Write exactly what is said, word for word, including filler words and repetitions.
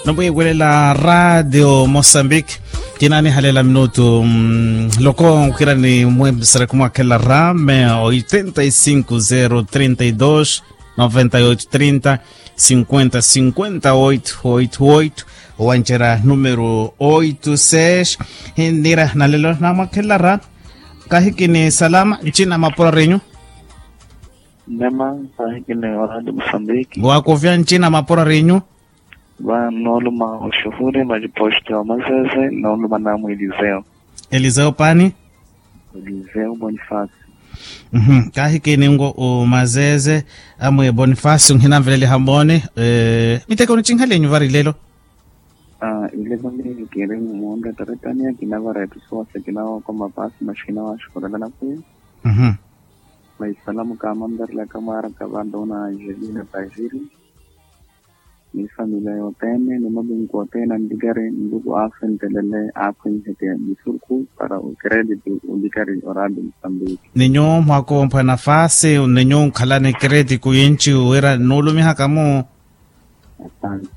Nomwiiwelela radio mosambiki. Kinaanihalela minutu loko nkira ni mwesareku mwakhelela rame oitenta y cinco zero treinta y dos noventa y oito trinta cinquenta cinquenta oito oito oito. Owancerya numero oito seis. Hinira nalelo namwakhelela rame. Kahiki ni salama ncina mapura renyu. Nema. Kahiki ni oradi musambiki. Wakuvya ncina mapura renyu. Va nooluma oxuhuri majiposti wa mazeze nooluma namu eliseo. Eliseo pani. Eliseo bonifasi. Kahiki ningo omazeze amwe bonifasi onhinanveleliha mooni. Miteko nichinhalenyu vari lelo. Ilelo ni kiri muunda taretania kinavara etusuwasa kinawakoma pasi maxi kinawaxukulela nakuya. Maisalamu kamanverelaka mwaraka vantu na angelina tajiri ni familia yothene ni malunku othene anlikari nluku aafentelele aakhwenheke musurukhu para okirediti olikari oradi musambiki. Ninyu mwakompha nafasi ninyu nkhalani kireti kuyinci wira nuulumihaka mu. Asante.